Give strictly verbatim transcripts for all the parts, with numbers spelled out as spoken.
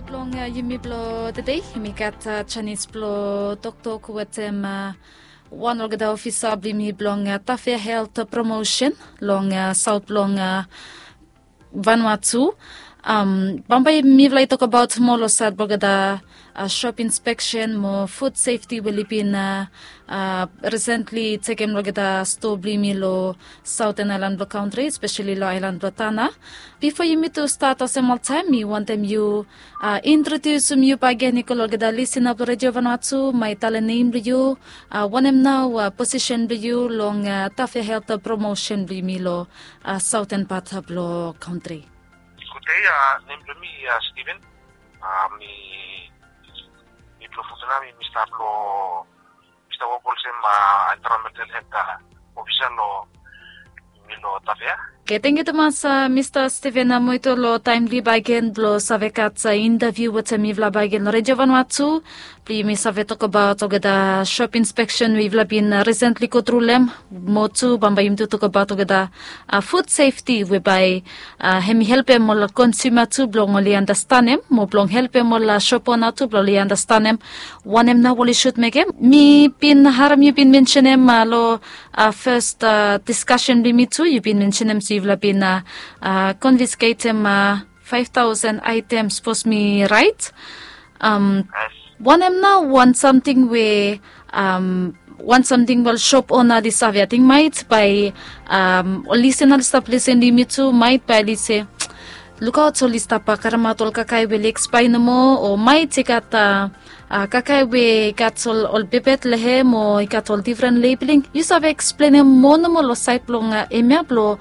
Blong yumi blo tede, yumi gat janis blo toktok wetem wan olgeta ofisa blo yumi blong Tafea Helt Promosen long saot blong Vanuatu. Bambae mifala i tokbaot moa lo saed blo olgeta sop inspeksen mo fud sefti we oli bin risentli tekem lo olgeta stoa blo yumi lo saoten aelan blo kantri, espeseli lo aelan blo Tana. Bifo yumi tu stat olsem oltaem, mi wantem yu introdiusim yu bakegen i go lo olgeta lisina blo Redio Vanuatu, bae yu talem nem blo yu, wanem nao posisen blo yu long Tafea Helt Promosen blo yumi lo saoten pat blo kantri. Gudei, nem blo mi Steven. Mi, mi blo Futuna, mi, mi stap lo, mi stap wok olsem environmental helt ofisa lo, mi lo Tafea. Oke, tangkiu tumas Mista Steven Amoito lo taem blo yu bakegen blo save gat intaviu wetem mifala bakegen lo Redio Vanuatu. Blo yumi save tokbaot olgeta sop inspeksen we yufala bin risentli gotru long hem. Mo tu bambae yumi tu tokbaot olgeta fud sefti we bae hem i helpem ol konsuma tu blong oli andastanem, mo blong helpem ol sop ona tu blong oli andastanem wanem nao oli sud mekem. Mi bin harem yu bin mensenem lo fes diskasen blo yumi tu, yu bin mensenem se yufala bin konfisketem faef taosen aetem, sapos mi raet. Wanem nao wan samting we, wan samting we ol sop ona oli save, ating maet bae ol lisina oli stap lisin lo yumi tu, maet bae oli se, lukaot, oli stap karemaot ol kakae we oli ekspaea nomo, o maet i gat kakae we i gat ol, ol bebet long hem, o i gat ol difren lebeling. Yu save eksplenem moa nomo lo saed blong hemia blo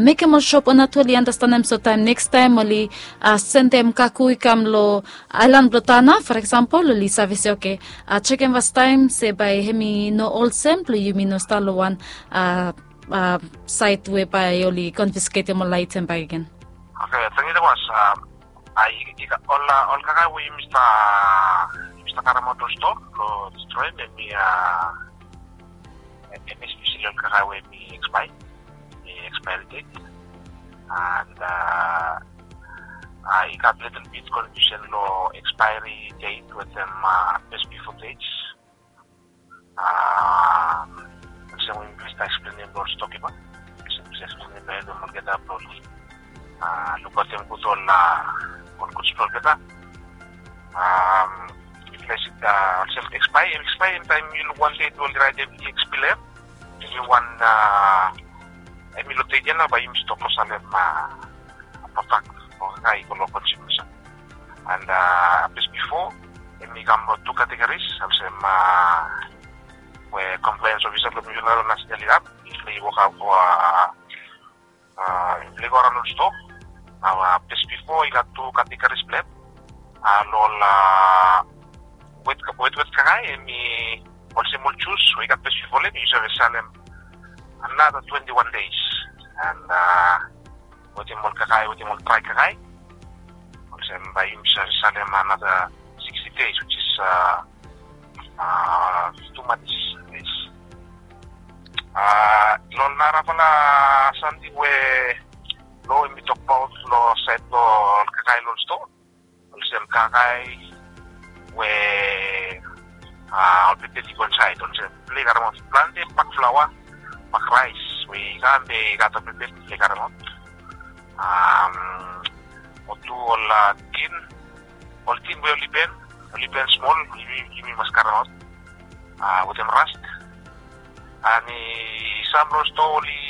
mekem ol sop ona tu oli andastanem, so taem nekis taem oli sendem kago i kam lo aelan blo Tana, for example, oli save se, oke, jekem fastaem se bae hem i no olsem, blo yumi no stap lo wan saed we bae oli konfisketem ol aetem bakegen. Oke, tangkiu tumas. Ol, ol kakae we yumi stap, yumi stap karemaot lo stoa blo destroem, hem i, hem i espeseli ol kakae we hem i ekspaea, hem i ekspaea det. And i gat litil bit konfiusen lo ekspaeri det wetem bes bifo det. Olsem we mi stap eksplenem lo ol stokipa, olsem mi stap eksplenem lo hem, olgeta blo oli lukaotem gud ol, ol guds blo olgeta. Mifala i si olsem ekspaea, ekspaea, taem yu luk wan det we oli raetem i ekspaea, hem i wan, hem i lo det ia nao bae yumi stop lo salem prodak o kakae i go lo konsumers. And bes bifo hem i kam lo tu kategoris, olsem we compliance officer blo mifala lo nasenal i gat, mifala i wokaot, mifala i go araon lo stoa. Nao bes bifo i gat tu kategoris blo hem. Lo ol wet, wet, wet kakae, hem i olsem ol jus we i gat bes bifo lo hem, yu save salem another twenty-one days. And wetem ol kakae, wetem ol drae kakae, olsem bae yumi save salem another sixty days, which is two months. Lo narafala samting we lo hem i tokbaot lo saed blo ol kakae lo ol stoa, olsem kakae we ol bebet i go insaed, olsem mifala i karemaot plante bak flaoa, bak raes we i kam be i gat ol bebet, mifala i karemaot. Mo tu ol tin, ol tin we oli ben, oli ben smol, yumi, yumi mas karemaot wetem rast. And i sam lo stoa oli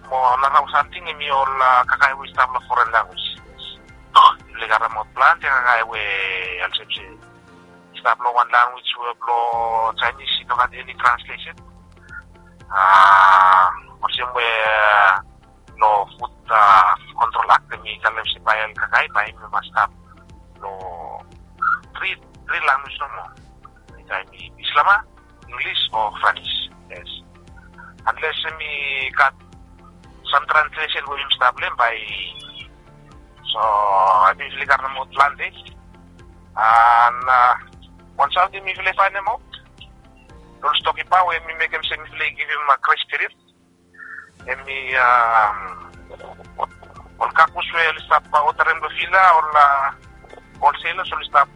Mo nara samting hem i ol kakae we i stap lo foren lanwis. Mifala i karemaot plante kakae we olsem se i stap lo wan lanwis we blo Chinese i no gat eni translesen. Olsem we lo Food Control Act hem i talem se bae ol kakae bae hem i mas stap lo tri, tri lanwis nomo. Taem i Bislama, Inglis o Franis. Yes. Unless hem i gat sam translesen we yumi stap lo hem bae. So hemi fala i karemaot plante. And wan samting mifala i faenemaot, ol stokipa we hemi mekem se mifala i givim grace period. Hemi Ol kakus we oli stap odarem long vila, ol holselas oli stap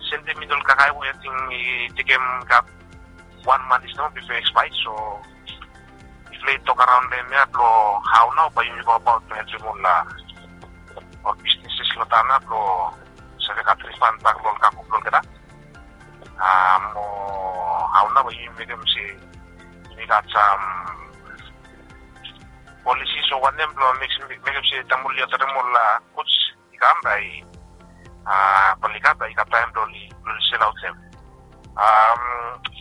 sendem mini ol kakae we ating i tekem gat wan man i stap bifo ekspae. So mifala i tok araon long em ya blong hao nao bae yumi go abaot blong helpem ol ol bisneses long taon ya blong save gat rifan bak long ol kaku blong olgeta. Mo hao nao bae yumi mekem se yumi gat sam polisi o wanem blong mekem se taem oli odarem ol guds i kam bae oli gat, bae i gat taem blong oli selaotem.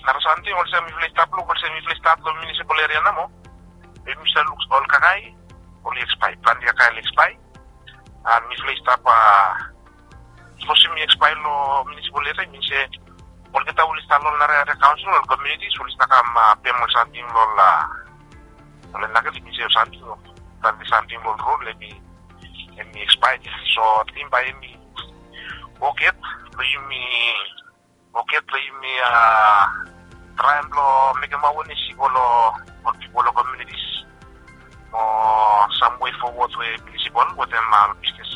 Nara samting olsem mifala i stap luk olsem mifala i stat long munisipal eria nao, bae mifala i luk ol kakae oli ekspae, plante kakae oli ekspae. An mifala i stap sipos yumi ekspae long munisipal eria i min se olgeta oli stap long ol nara eria kaonsel, ol komiunitis oli stap kam pem ol samting long ol, ol en lakel i min se ol samting, plante samting long ol rod hemi ekspae ya. So ating bae hemi wok yet blong yumi, wok yet blong yumi traem blong mekem awenes i go long ol pipol long komiunitis mo sam wei fowod we munisipal wetem ol bisnes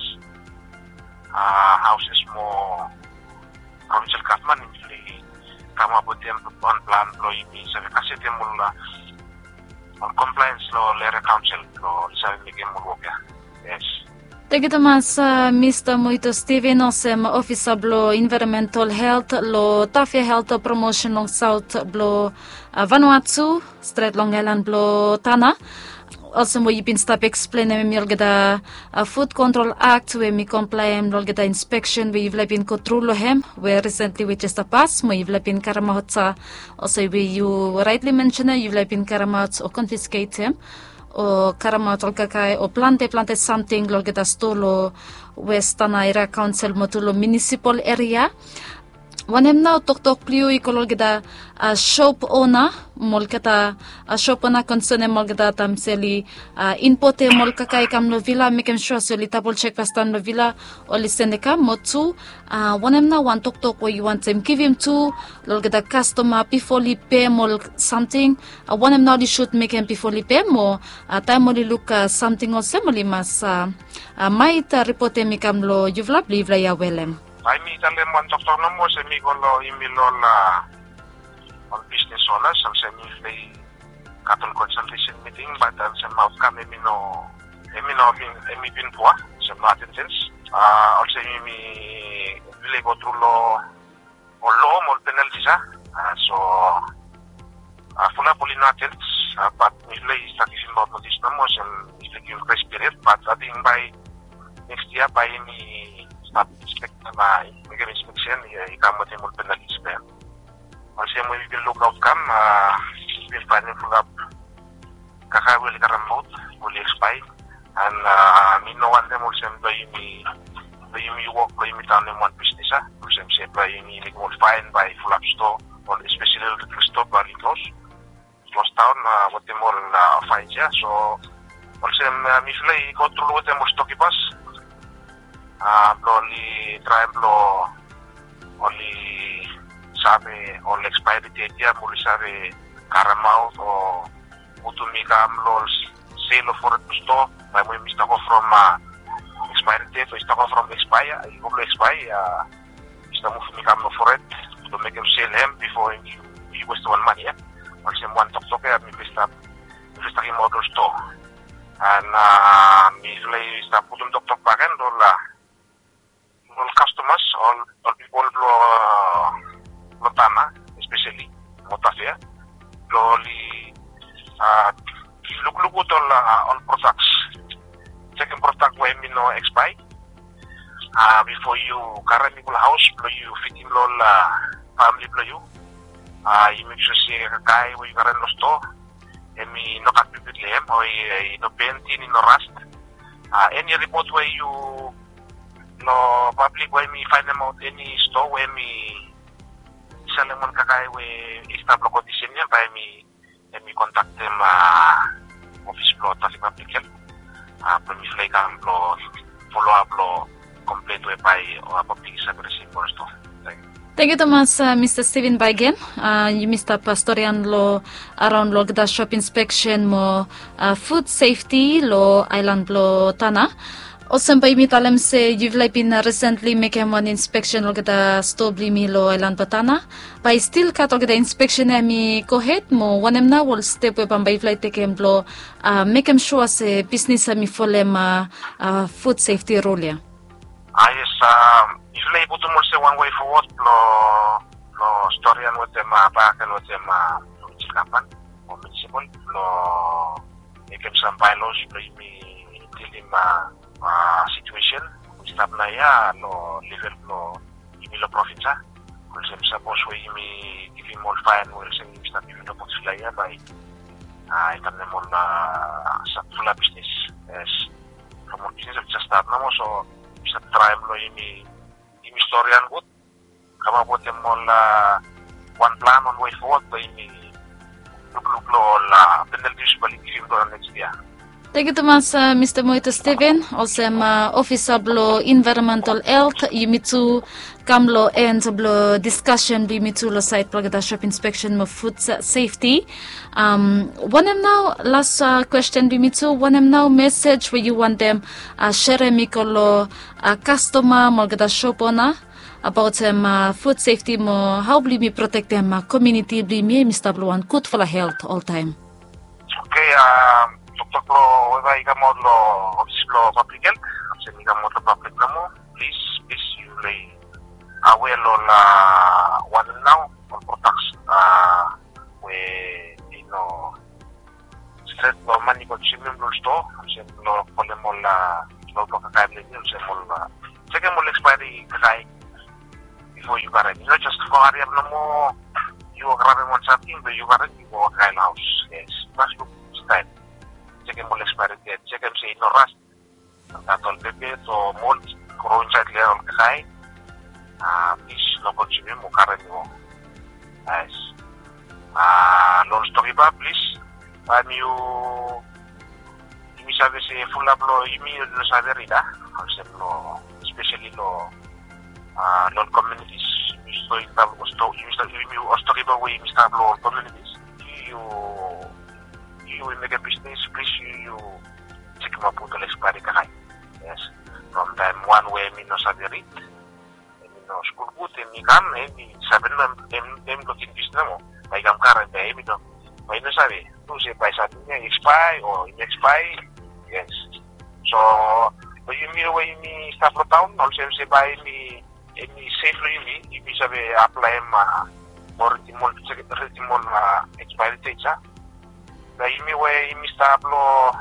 haoses mo provinsel gavman i kamap wetem wan plan blong yumi save kasetem ol ol komplaens long ol eria kaonsel blong oli save mekem ol wok ya. Yes. Tangkiu tumas, Mista Muito Steven, olsem ofisa blong envaeronmental helt long Tafea Helt Promosen long saot blong Vanuatu, stret long aelan blong Tana. Olsem we yu bin stap eksplenem hemi olgeta Food Control Act we hemi komplaem long olgeta inspeksen we yufala i bin go tru long hem we risentli we jes stap pas mo yufala i bin karemaot, olsem we yu raetli mensenem, yufala i bin karemaot o konfisketem o karemaot ol kakae o plante plante samting long olgeta stoa long West Tana Eria Kaonsel mo tu long munisipal eria. Wanem nao toktok blong yu i go long olgeta sop ona mo olgeta sop ona konsenem olgeta taem se oli impotem ol kakae i kam long vila, mekem sua se oli dabol sek fastaem long vila oli sendem i kam, mo tu wanem nao wan toktok we yu wantem givim tu long olgeta kastoma bifo oli pem ol samting? Wanem nao oli sud mekem bifo oli pem, o taem oli luk samting olsem oli mas maet ripotem i kam long yufala blong yufala i awelem? Bae mi talem wan toktok nomo olsem mi go long imel ol ol bisnes onas olsem mifala i gat ol konsaltesen miting, bat olsem aotkam hemi no, hemi no bin, hemi bin pua olsem no atendens. Olsem yumi, mifala i go tru long ol loa mo ol penaltis ya. So fulap oli no atend, bat mifala i stap givim aot notis nomo olsem mifala i givim gres piriod, bat ating bae nekst yia bae yumi stap inspektem, mekem inspeksen i kam wetem ol penaltis ya. Olsem we mi bin lukaot kam, mi bin faenem fulap kakae we oli karemaot oli ekspae. An mi no wantem olsem blong yumi, blong yumi wok blong yumi taonem wan bisnes ya olsem se blong yumi mekem ol faen bae fulap stoa, ol espeseli ol retail stoa bae oli klos, klos daon wetem ol faens ya. So olsem mifala i go tru wetem ol stokipas blong oli traem blong oli save ol ekspaeri det ya mo oli save karemaot o putum i kam long ol sel o fored blong stoa, taem we i stap go from ekspaeri det o i stap go from ekspaea i go blong ekspaea, i stap muvum i kam long fored blong mekem sel hem bifo i westem wan mane ya. Olsem wan toktok ya mifala i stap, mifala i stap givimaot long stoa. An mifala i stap putum toktok bakegen long ol, ol kastomas, ol pipol blong Tana espeseli mo Tafea blong oli lukluk gud ol, ol prodaks. Sekem prodak we hemi no ekspae bifo yu karem i go long haos blong yu fidim long ol famili blong yu. Yu mek sua se kakae we yu karem long stoa hemi no gat bigfit long hem o i no bent, i no rast. Eni ripot we yu long pablik we hemi faenemaot eni stoa we hemi salem wan kakae we i stap long kondisen ya, bae hemi, hemi kontaktem ofis blong Tafea Pablik Helt blong mifala i kam blong foloap long komplen we bae pablik i save risivim long stoa. Tangkiu. Tangkiu tumas Mista Steven. Baegen yumi stap storian long araon long olgeta sop inspeksen mo fud sefti long aelan blong Tanna. Olsem bae yumi talem se yufala i bin risentli mekem wan inspeksen long olgeta stoa blong yumi long aelan blong Tanna. Bae i stil gat olgeta inspeksen ya hem i gohed mo wanem nao ol step we bambae yufala i tekem blong mekem sua se bisnis hem i folem fud sefti rul ya? A yes, yufala i putum olsem wan wei fowod long storian wetem baken wetem provinsel gavman o miunisipal blong mekem sam baelaos blong yumi dilim situesen we i stap naoia long level blong yumi long provins ya. Olsem sapos we yumi givim ol faen we olsem yumi stap givim long boksfala ya bae i tanem ol fulap bisnis. Yes, from ol bisnis we i jes stat nomo so yumi stap traem long yumi yumi storian gud kamap wetem ol wan plan ol wei fowod blong yumi lukluk long ol penaltis bae oli givim long neks yia. Tangkiu tumas Mista Moito Steven. Olsem ofisa blong envaeronmental helt yumi tu kam long en blong diskasen blong yumi tu long saed blong olgeta sop inspeksen mo fud sefti. Wanem nao las kwesten blong yumi tu, wanem nao mesej we yu wantem serem i go long kastoma mo olgeta sop ona abaotem fud sefti mo hao blong yumi protektem komiuniti blong yumi ya yumi stap long wan gudfala helt oltaem? Oke, toktok blong we bae i kamaot long ofis blong pablik helt olsem i kamaot long pablik nomo. Plis plis yufala i awea long ol wanem nao ol prodaks we i no stret long man i konsumim long ol stoa olsem long kolem ol long blong kakae blong yumi olsem ol jekem ol ekspaeri kakae bifo yu karem i no jes go hariap nomo. Yu grabem wan samting blong yu karem yu go kakae long haos. Yes, mas luk staem jekem ol ekspaeri ded jekem se i no ras. Gat ol pepe o mol i gro insaed long ol kakae. Plis no konsumim o karem i go. Yes. Long ol stokiba plis bae mi yu yumi save se fulap long yumi oli no save rid a olsem long spesali long long ol komiunitis yumi stap long ol stokiba we yumi stap long ol komiunitis. Yu yu we mekem bisnis plis yu yu jekemaot ol ekspaeri kakae. Yes. From taem wan we hem i no save rid hem i no skul gud hem i kam hem i save no hem hem i no ken bisnis nomo. Bae i kam karem bae hem i no bae i no save tu se bae samting ya i ekspae o i no ekspae. Yes. So long yumi we yumi stap long taon olsem se bae hem i hem i sef long yumi yumi save aplaem mo ridim ol ridim ol ekspaeri ded ya. Long yumi we yumi stap long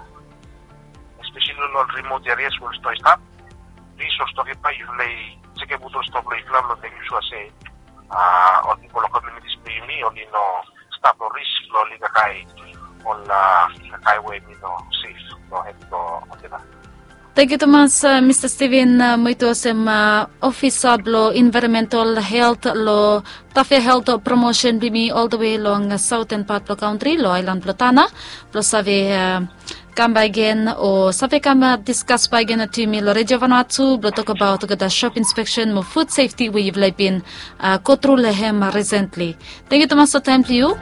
espesali long ol rimot erias we ol stoa i stap. Plis ol stokiba yufala i jekem gud ol stoa blong yufala blong mekem sua se ol pipol long komiunitis blong yumi oli no stap long ris blong oli kakae ol kakae we hem i no sef long hem blong olgeta. Tangkiu tumas Mista Steven Moito olsem ofisa blong envaeronmental helt long Tafea Helt Promosen blong yumi oldewe long saoten pat blong kantri long aelan blong Tanna blong save kam baegen o save kam diskas baegen wetem yumi long Redio Vanuatu blong tokbaot olgeta sop inspeksen mo fud sefti we yufala i bin gotru long hem risentli. Tangkiu tumas long taem blong yu.